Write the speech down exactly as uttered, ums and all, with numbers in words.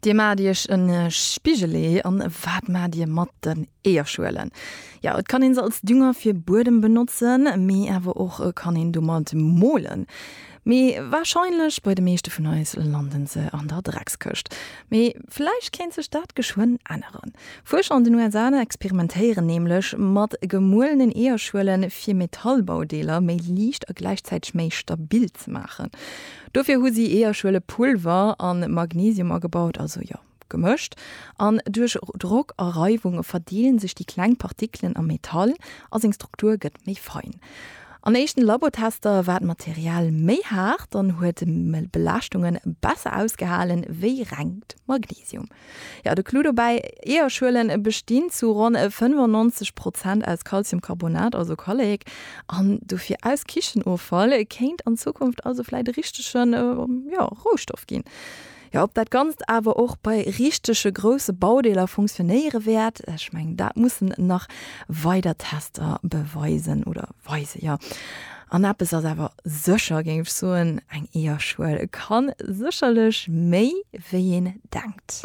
Dir maacht iech e Spigelee an wat maacht dir mat den Eeërschuelen? Jo, et kann een se als Dünger fir Buedem benotzen, mee awer och kann een domat molen. Mee warscheinlech bei de meeschte vun eis landen se an der Dreckskëscht. Mee vläicht kéint sech dat geschwënn änneren. Fuerscher an den U S A experimentéieren nämlech mat gemuelenen Eeërschuelen, fir Metallbaudeeler méi liicht a gläichzäiteg méi stabil ze maachen. Dofir hu si Eeërschuelepulver an Magnesium agebaut, also jo, gemëscht. An duerch Drock a Reiwung verdeelen sech déi kleng Partikelen am Metall a seng Struktur gëtt méi fein. An éischten Labotester war d'Material méi haart an huet Belaaschtunge besser ausgehalen wéi rengt Magnesium. Jo, de Clou dobäi, Eeërschuelen bestinn zu ronn fënnefannonzeg Prozent aus Calciumcarbonat, also Kallek, an dofir aus Kichenoffall kéint an Zukunft also vläit e richtegen, jo, Rohstoff ginn. Jo, ob dat Ganzt awer och bei richtege grousse Baudeeler funktionéiere wäert, ech mengen, dat mussen nach weider Tester beweisen oder weisen, jo. An eppes ass awer sécher, géing ech soen, eng Eeërschuel kann sécherlech méi, wéi een denkt.